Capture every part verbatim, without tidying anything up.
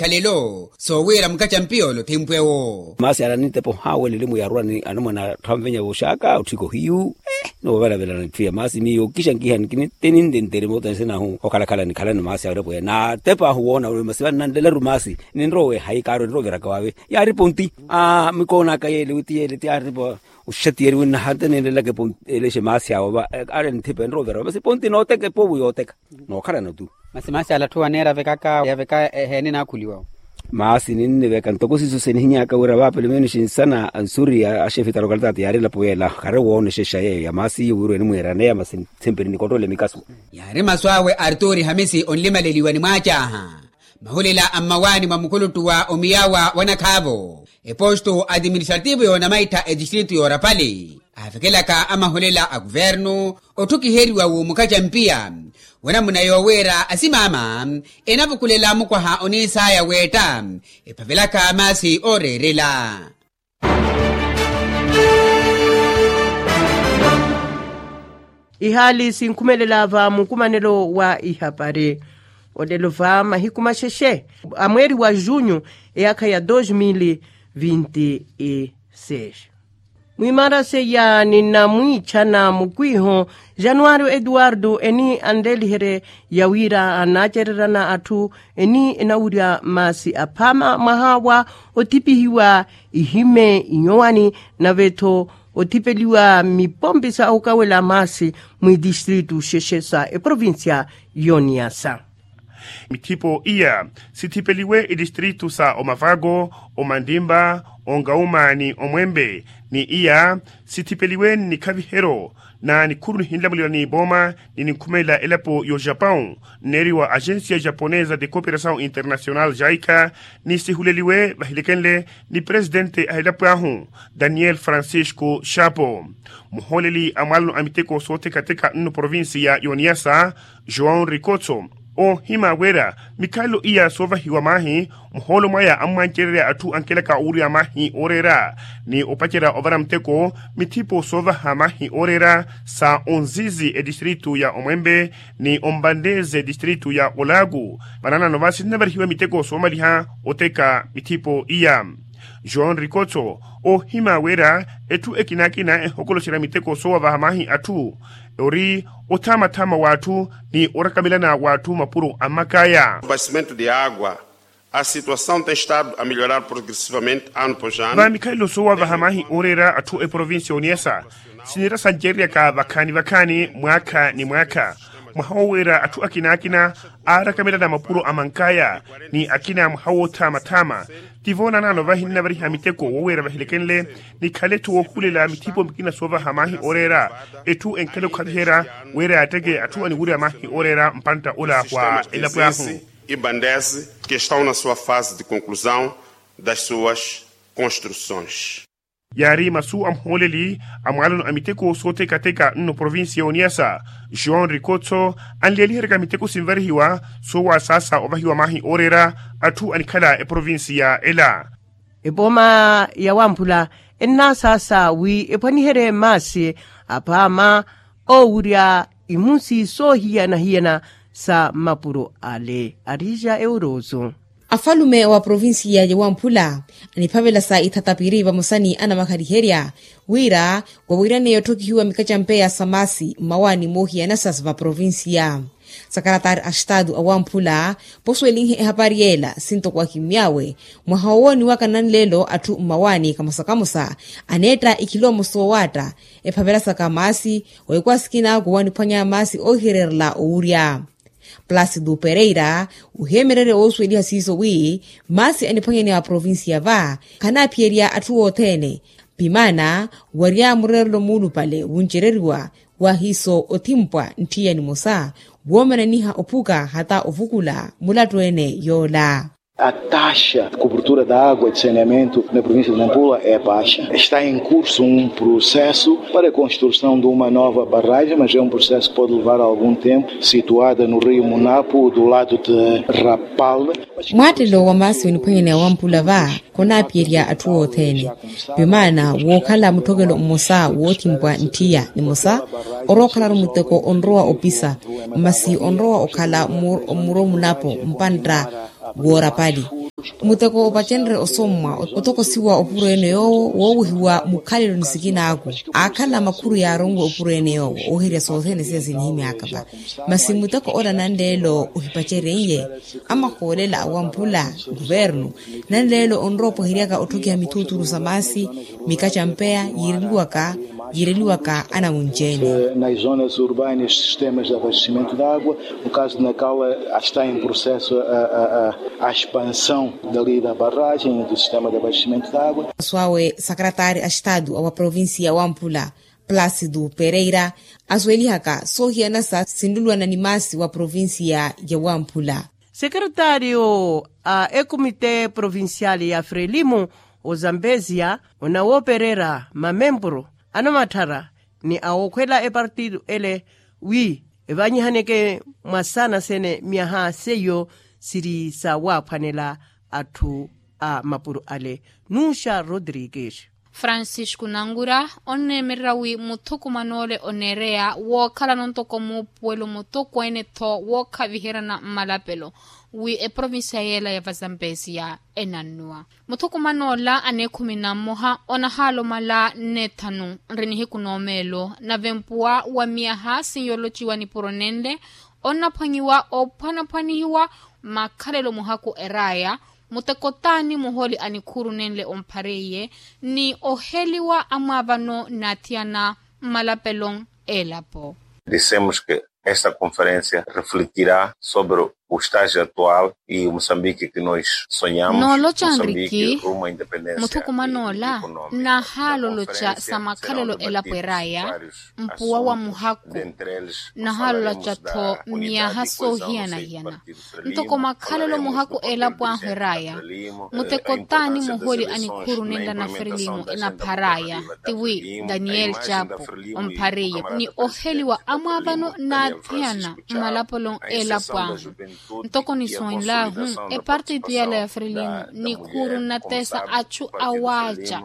ikhalelo soowiira mukacampiya ole othimpwewo. Maasi ala nintepa ohawelelimu yarwani anamwana atthu anvenya voxaka otthika ohiyu. Noovelavelana etthu ya maasi miyo kixa-nkiha nkiniteni ntentere moota nsinahu okhalakhala nikhalani maasi awerepweya natepa ahu woona masi vannanlelaru maasi. Ninrowe hayi kaaro ninroviraka wave. Yaari ponti. Mikoonaka yeele witi yeele ti yaari po. Oxatiyeriwe nnahatenenlelaka eponti elexe maasi awo va. Aari nithipa enroveraka masi ponti nooteka epovu yooteka. Nookhalana tu. Masi maasi ala atthu waneera avekaka yaveka eheene naakhuliwa. Maasi ninniveka ntoko siiso sinihinyaka wira va pelomenos nsana ansuri axefe ta lokalitaati yaari elapo yeela khari woonexexa yeeyo ya maasi iyo wira enimwiiraneya masi ntsemperi nikottole mikaso. Yaari masu awe arturi hamisi onlimaleliwa ni mwaacaaha. Mahulela a mmawaani mwa mukuluttu wa omiyawa wa nakhaavo eposto atiministrativo yoonamaitha etistritu yoorapali aavekelaka amahulela a kuvernu otthukiheriwa w'omukacampiya. Wanamuna yoowiira asimaama enavukulela mukwaha oniisaya weetta ephavelaka maasi ooreerela. Ihaali sinkhumelela va mukumanelo wa ihapari olelo va mahiku maxexe a mweeri wa junyu eyaakha ya dos mil vinti seis. Mwimarase ya ninamwiichana mukwiiho januwari eduwardu eni anleliherye ya wira anaacererana atthu eni enawurya maasi aphaama mwaha wa othipihiwa ihime inyowani nave-tho othipeliwa mipompi sa okawela maasi mwitistritu xexe sa eprovincia y'oniyasa. Mithipo iya sithipeliwe itistritu sa omavako, omandimba, onkauma ni omwempe ni iya sithipeliwe nnikhaviheryo na nikhuru nihinlamuliwa n'ipooma ni ninkhumelela elapo y'ojapão nneeriwa agencia japonesa de cooperação internacional jaica. Ni sihuleliwe vahilekenle ni presidente a elapo ahu daniel francisco chapo. Muhooleli a mwaalano a miteko soothekatheka nno provincia y'oniyasa joão rikotso oohima wira mikhalelo iya soovahiwa maahi muhoolo mwaya ammwancererya atthu ankelaka owurya maahi ooreera ni opacerya ovara muteko mithipo soovaha maahi ooreera sa onzizi etistritu ya omwempe ni ompanteze etistritu ya olaaku. Vananano va sinnavarihiwa miteko soomaliha oteka mithipo iya joão rikotso oohima wira etthu ekinakina ehokoloxerya miteko soowavaha maahi atthu ori othamathama w'atthu ni orakamelana w'atthu mapuro a mmakaya. Abastecimento de água a situação tem estado a melhorar progressivamente ano após ano. Va mikhalelo soowavaha maahi ooreera atthu eprovincia y'oniyasa sinira sancereryaka vakhaani vakhaani mwaakha ni mwaakha mwaha wowiira atthu akina akina aarakamelana mapuro a mankaya ni akina mwaha woothamathama. Tivo nanano vahinnavariha miteko wowiira vahilekenle nikhale-tho woohulela mithipo mikina soovaha maahi ooreera etthu enkhale okhaviherya wira yaatteke atthu aniwurya maahi ooreera mpantta ola wa elapo ahu. Ibandese que estão na sua fase de conclusão das suas construções. Yaari masu a muhooleli a mwaalano a miteko soothekatheka nno provincia y'oniyasa joão rikotso anleeliheryaka miteko sinvarihiwa soowasaasa ovahiwa maahi ooreera atthu anikhala eprovincia ela. Epooma ya wamphula ennasaasa wi ephwaniherye maasi aphaama oowurya imusi soohiyana-hiyana sa mapuro ale arija eurooso. Afalume wa provincia ya wamphula aniphavela sa ithatapiri vamosa ni anamakhaliherya wira wawirane yotthokihiwa mikacampeya sa maasi mmawaani moohiyana sa va provincia. Sakaratari a estatu awamphula posuwelinhe ehapari yeela sintoko akimy'awe mwaha wowooniwaka nanlelo atthu mmawaani kamosa kamosa aneetta ikhilomoso woowatta ephavelasaka maasi. Wekwaasikina kuwaniphwanya maasi oohihererela owurya plasitu pereira oheemererye woosuweliha siiso wi maasi aniphwanyaniwa provincia va khanaaphiyerya atthu othene pimaana warya mureerelo muulupale wuncereriwa wa hiiso othimpwa ntthiya nimosa woomananiha ophuka hata ovukula mulattu-ene yoola. A taxa de cobertura da água de saneamento na província de nampula é baixa está em curso um processo para a construção de uma nova barragem mas é um processo que pode levar algum tempo situada no rio munapo do lado de rapal. Mwaattelo wa maasi oniphwanyaniwa wampula va khonaapiyerya atthu othene pimaana wookhala mutthokelo mmosa woothimpwa ntthiya nimosa orowa okhalaru muteko onrowa opisa masi onrowa okhala mmuro munapo mpantta woorapali. Muteko opacenrye osommwa otokosiwa opuro ene yoowo woowihiwa mukhalelo ni sikinaaku. Aakhala makhuru yaaronwe opuro ene yoowo ooherya sothene siya sinihimyaka va. Masi muteko ola nanleelo ohipacereiye amahoolela awamphula guvernu. Nanleelo onrowa opweheryaka otthokiha mithuuturu sa maasi, mika ca mpeya yiireliwaka yiireliwaka anawunci-ene. Nas zonas urbanas sistemas de abastecimento de água, no caso de nacala está em processo a expansão dali da barragem do sistema de abastecimento de água. Swaawe sakaratari a estadu awa provincia wamphula, plácido pereira, asweelihaka soohiyana sa sinlulwana ni maasi wa provincia ya wamphula. Sekeretaariyo a ekomite provincial ya frelimo ozambesia onawoopererya mamempuru anamatthara ni awookhwela epartitu ele wi evanyihaneke mwa saana sene myaha seiyo siri sawaaphwanela atthu a mapuro ale. Nuxa rodrigues. Francisco nangura onneemererya wi muthukuman'ole oneereya wookhalana ontoko muupuwelo mutokweene-tho wookhaviheryana mmalapelo wi eprovincia yeela ya vazambesia enannuwa. Muthukuman'ola aneekhumi na mmoha onahaalomala nneethanu nri nihiku n'omeelo nave mpuwa wa miyaha sinyoolociwa nipuro nenle onnaphwanyiwa ophwanaphwanihiwa makhalelo muhaku eraaya. Muteko taani muhooli a nikhuuru nenle omphareiye ni oheliwa amwaavano n'athiyana mmalapelo elapo. Disemos ke esta conferencia refletirá sobre o estágio atual e o mosambiki ke nos sonhamos. Nooloca nriki muthukuman'ola nahaaloloca sa makhalelo elapo eraaya mpuwa wa muhaku nahaaloloca-tho miyaha soohiyana-hiyana ntoko makhalelo muhaku elapo ahu eraaya. Muteko taani muhooli a nikhuuru nenla na frelimo enapharaya tiwi daniel chapo omphareiye ni oheliwa amwaavano n'athiyana mmalapolo elapo ahu. Ntoko nisonlahu epartitu yela ya frelimo nikhuuru nnateesa achu awaaca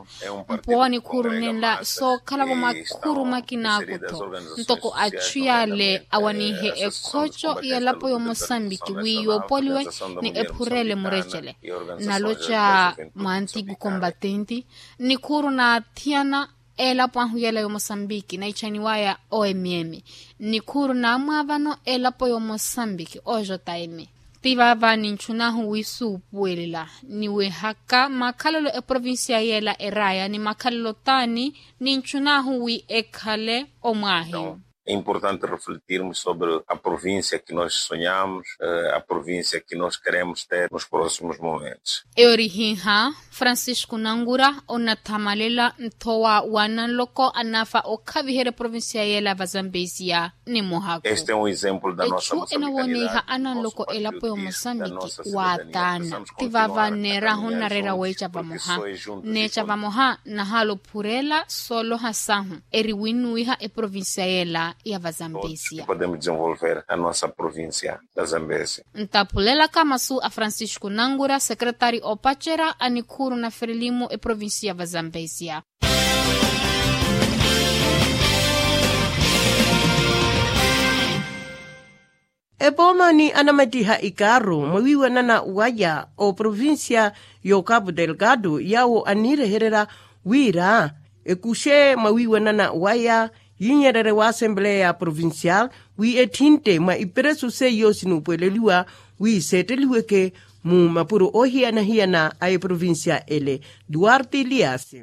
mpuwa wa nikhuuru nenla sookhalavo makhuuru makinaku-tho ntoko achu yale awanihe ekhoco yelapo y'omosambiki wi yoopoliwe ni ephurele murecele. Naloca mwantiku kombatenti nikhuuru n'athiyana elapo ahu yela y'omosambiki naicaniwaya omm nikhuuru n'amwaavano elapo y'omosambiki ojm ti vaava ninchunahu wi suupuwelela niwehaka makhalelo eprovincia yela eraaya ni makhalelo taani ninchunahu wi ekhale omwaahiyu. Importante refletirmos sobre a provincia ke nos sonhamos a provincia ke nos keremos ter nos proximos momentos. Eyo orihiha francisco nangura onatthamalela nthowa wa nanloko anafa okhaviherya eprovincia yela vazambesia ni muhaku. Echu enawoniha ananloko elapo y'omosambiki waataana ti vaava nneerahu nnareera weeca vamoha nneeca vamoha nahaala ophurela sooloha sahu eri winnuwiha eprovincia yela ya vazambesia. Podemos desenvolver a nossa provincia da zambezia. Ntaphulelaka masu a francisco nangura secretari opacerya a nikhuuru na frelimo eprovincia ya vazambesia. Epooma ni anamattiha ikaaru mwawiiwanana waya oprovincia y'okapu delgado yaawo anniirehererya wira ekuxe mwawiiwanana waya yinyererye wa asempleya ya provincial wi etthintte mwa iperesu seiyo sinuupuweleliwa wi seetteliweke mu mapuro oohiyana-hiyana a eprovincia ele. Duarte elias.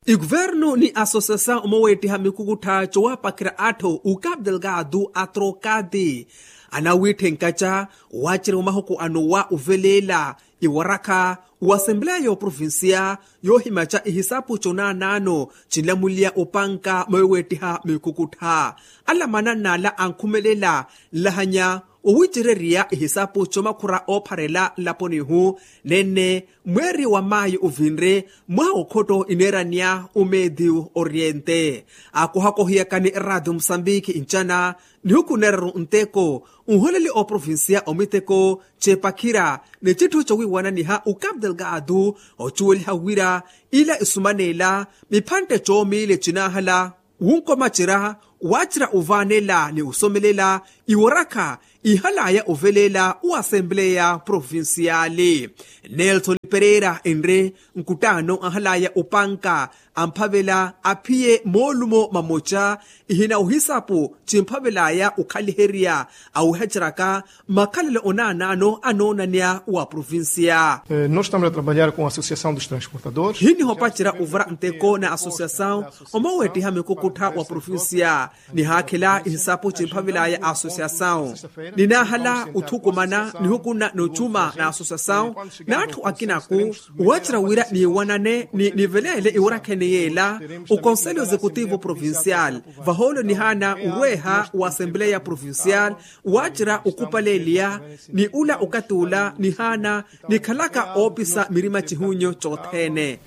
Ikuvernu ni asosesa omoweettiha mikukuttha cowapakhira atthu ukapu delgado atrokati anawiitthe nkaca waacerya omahuku anowa oveleela iwarakha wa asempleya y'oprovincia yoohimaca ihisapu conaanaano cinlamuliya opanka mweweettiha mikukuttha. Alamana n'ala ankhumelela nlahanya owicererya ihisapu comakhura oopharela nlaponi-hu nenne mweeri wa maayi ovinre mwaha okhotto ineeraniya omedio oriente. Akohakohiyakani eraatio musambiki ncana nihuku neeraru nteko nholeli oprovincia omiteko ceepakhira ni citthu cowiiwananiha ukapu delgado ocuweliha wira ila isumaneela miphantte coomiile cinaahala wunkomacerya waacerya ovaanela ni osomelela iwarakha ihalaya oveleela wa asempleya provinciali. Nelson pereira enre nkuttaano ahalaya opanka amphavela aphiye moolumo mamoca ihina ohisapu cimphavelaya okhaliherya awihaceraka makhalelo onaanaano anoonanya wa provincia. Nós estamos a trabalhar com a associação dos transportadores. Hinihopacera ovara nteko na associação omoweettiha mikukuttha wa provincia. Nihaakhela ihisapu cimphavelaya associação ninaahala othukumana nihukuna nocuma na associação n'atthu akinaku. Owacera wira niiwanane ni niveleele iwarakhene yeela oconselho executivo provincial vahoolo nihaana orweeha wa assempleya provincial. Owacera okupaleeliya ni ula okathi ula nihaana nikhalaka oopisa mirima cihunyu cothene.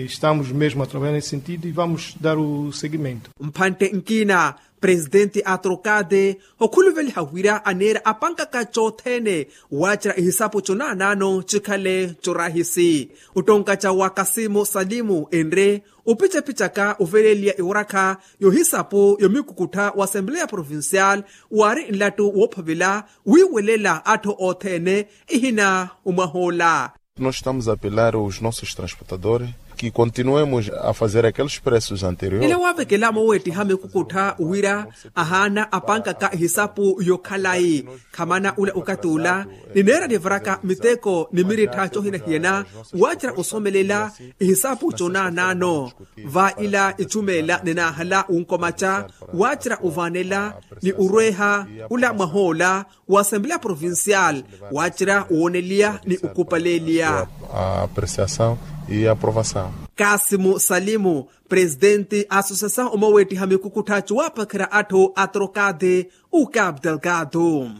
Estamos mesmo a trabalhar nesse sentido e vamos dar o segmento. Mphantte nkina presidente atrocade okhuluveliha wira aneera apankaka cothene. Wacera ihisapu conaanaano cikhale corahisi ottonkaca wa kasimu salimu enre opicepichaka oveleeliya iwarakha yohisapu yomikukuttha wa assempleya provincial waari nlattu woophavela wiiwelela atthu othene ihina omwahoola. Nós estamos a apelar os nossos transportadores que continuemos a fazer aqueles preços anteriores. Nile waavekela mooweettiha mikukuttha wira ahaana apankaka ihisapu yokhalayi khamana ula okathi ula nineera nivaraka miteko ni mirittha cohinahiyana. Waacera osomelela ihisapu conaanaano va ila icumeela ninaahala wunkomaca waacera ovaanela ni orweeha ula mwahoola wa assempleya provincial waacera wooneliya ni okupaleeliya. Apreciação e aprovação. Kasimu salimu presidente associação omoweettiha mikukuttha cuwaapakherya atthu atrocade u cap delgado.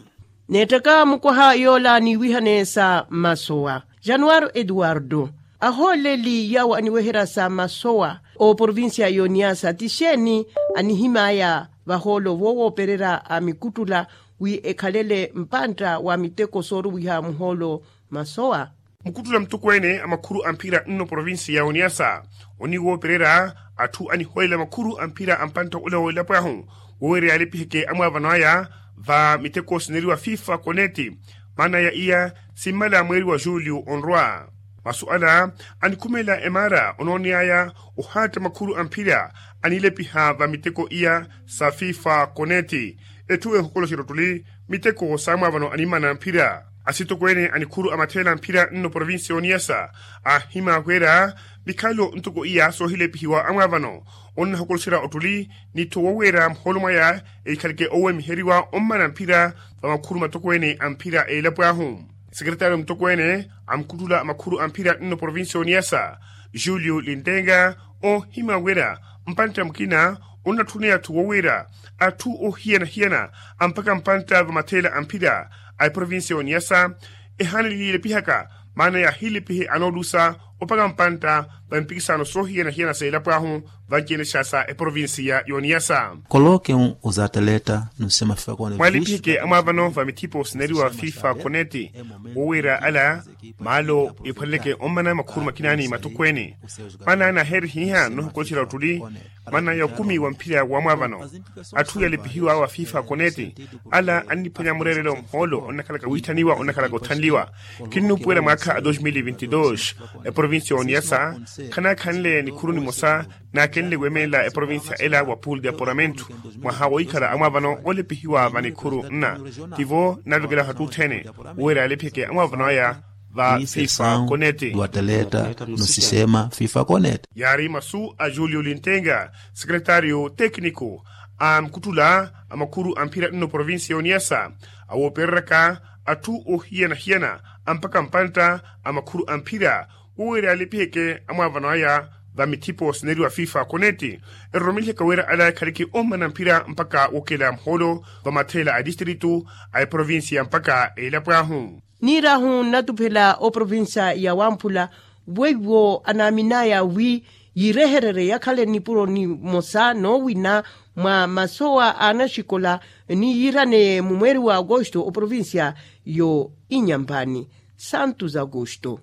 Neettaka mukwaha yoola niiwihanesa masowa januwaro eduwardo ahooleli yaawo aniweherya sa masowa oprovincia y'oniyasa ti xeeni anihim'aya vahoolo voowoopererya a mikuttula wi ekhalele mpantta wa miteko sooruwiha muhoolo masowa. Mukuttula mutokweene a makhuru a mphira nno provincia ya oniyasa oniwoopererya atthu anihoolela makhuru a mphira a mpantta ole w'elapo ahu woweerya yaalipiheke amwaavano aya va miteko sineriwa fifa koneti. Maana ya iya simmala mweeri wa julio onrwa masu ala anikhumeela emaara onooney'aya ohaatta makhuru a mphira anilepiha va miteko iya sa fifa koneti. Etthu ehukholoxerya ottuli miteko saamwaavano animmana mphira asitokweene anikhuru a matheela mphira nno provincia oniyasa aahimya wira mikhalo ntoko iya soohilepihiwa amwaavano onnahukulusera ottuli ni tho woweera muhoolo mwaya eikhaleke owemiheriwa ommana mphira va makhuru matokweene a mphira a elapo ahu. Sekeretario mutokweene a mukuttula a makhuru a mphira nno provincia oniyasa julio lintenga oohimya wira mpantta mukina onnatthuneya tho woweera atthu oohiyana-hiyana ampaka mpantta va matheela a mphira a eprovincia oniyasa ehaana lilepihaka maana yaahilepihe anoolusa opaka mpantta va mpikisano soohiyana-hiyana sa elapo ahu vanci-ene xa sa eprovincia y'oniyasa. Koloke un uzataleta nusema fika kone mwaalipiheke amwaavano va mithipo sineriwa fifa koneti woweera ala maalo ephwaleleke ommana makhuru makina ni matokweene. Maana naaheerihiha nnohukoxera ottuli maana ya okumi wa mphira wa mwaavano atthu yaalipihiwa wa fifa koneti ala anniphwanya mureerelo muhoolo onnakhalaka wiitthaniwa onnakhalaka othanliwa. Kinnuupuwela mwaakha a dos mil e vinte e dos eprovincia oniyasa khanaakhanle nikhuru nimosa naakenle weemelela eprovincia ela wa pool de apuramento mwaha woikhala amwaavano olipihiwa va nikhuru nna tivo naavekela hattuthene woweera yaalipheke amwaavano aya va fifa koneti. Duateleta no sistema fifa koneti yaari masu a julio lintenga sekeretario tekniko a mukuttula a makhuru a mphira nno provincia y'oniyasa awoopereryaka atthu oohiyana-hiyana ampaka mpantta a makhuru a mphira woweera yaalipihyeke amwaavano aya va mithipo sineriwa fifa koneti eroromelihaka wira ala ekhaleke ommana mphira mpakha wokela muhoolo va matheela a distritu a eprovincia mpakha elapo ahu. Niir'ahu nnatuphela oprovincia ya wamphula weiwo anaamin'aya wi yiirehererye yakhale nipuro nimosa noowina mwa masowa a anaxikola ni yiiraneye mumweeri wa agosto oprovincia yo inyampani santos agosto.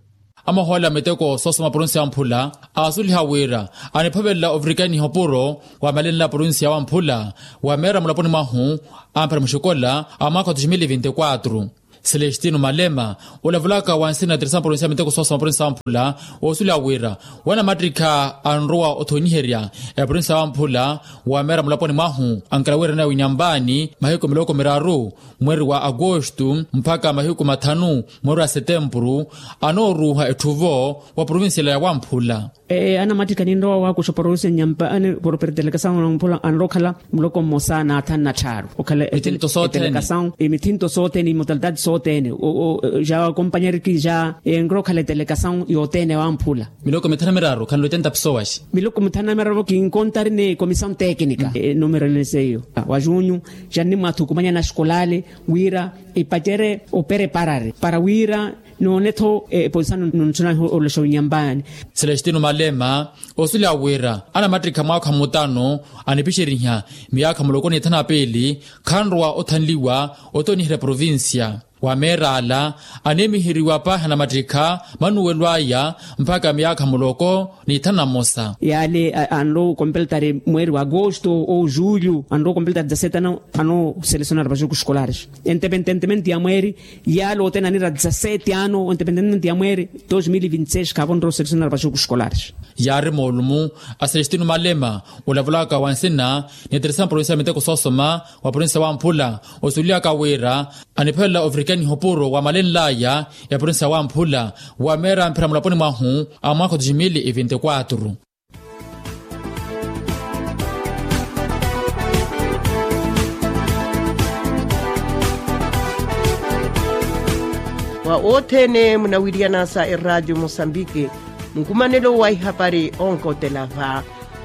Amahoolela miteko soosoma provincia ya wamphula aasuliha wira aniphovelela ovirikaniha opuro wa malenla provincia ya wamphula wa meera mulaponi mwahu amphera muxikola a mwaakha wa dois mil e vinte e quatro. Celestino malema olavulaka wansina ya teresa provincia ya miteko soosoma provincia ya wamphula oosuliha wira wanamattikha anrowa othoniherya eprovincia ya wamphula wa meera mulaponi mwahu ankela wira nawe inyampaani mahiku miloko miraru mweeri wa agosto mpakha mahiku mathanu mweeri wa setempuru anooruuha etthuvo wa provincia ela ya wamphula. Anamattikha ninrowa waakuxa porovincia nyampaani poropertelekasawu na wamphula anrowa okhala muloko mmosa na athanu na tthaaru okhala etelekasawu emithinto sothene imotalitati sothene ja kompanyariki ja enrowa okhala etelekasawu yothene ya wamphula. Miloko mithanu na miraru khanlote ntapisowaxi. Miloko mithanu na miraru kinkontari ni komisawu tekinika enumero ene seiyo wa junyu ja nnimwathukumanya na xikolaali wira ipacere opereparari para wira noone-tho eposisano nontthuna olexa onyampaani. Celestino malema osuleya wira anamattikha mwaakha mutano anipixeriha miyaakha muloko ni ithanu na piili khanrowa othanliwa othoniherya provincia wa meera ala aneemiheriwa paahi anamattikha manuwelo aya mpakha miyaakha muloko ni ithanu na mmosa. Yaale anrowa okompeltari mweeri wa agosto ou julho anrowa okompeltari dezasete ano anooselesonari vaxuku xikolares entepententemente ya mweeri yaale othene anira dezasete ano entepententemente ya mweeri dos mil e vinte e seis khaavo onrowa oselesonari vaxuku xikolares. Yaari moolumu a celestino malema olavulaka wansina ni teresa provincia ya miteko soosoma wa provincia ya wamphula osuliaka wira anipholela ovirikaniha opuro wa malenlaya ya provincia ya wamphula wa meera mphira mulaponi mwahu a mwaakha wa dois mil e vinte e quatro. Wa othene munawiriyana sa eradio mosambike, mukumanelo wa ihapari onkotela va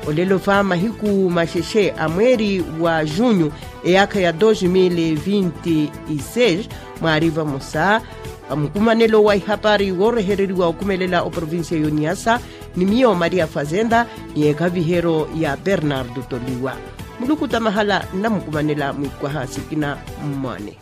olelo va mahiku maxexe a mweeri wa junho eyaakha ya dos mil vinti e seis mwaari vamosa. Mukumanelo wa ihapari woorehereriwa okhumelela oprovincia y'oniasa ni miyo maria fazenda ni ekhavihero ya bernardo toliwa. Muluku tamahala nnamukumanela mwikwaha sikina mmwane.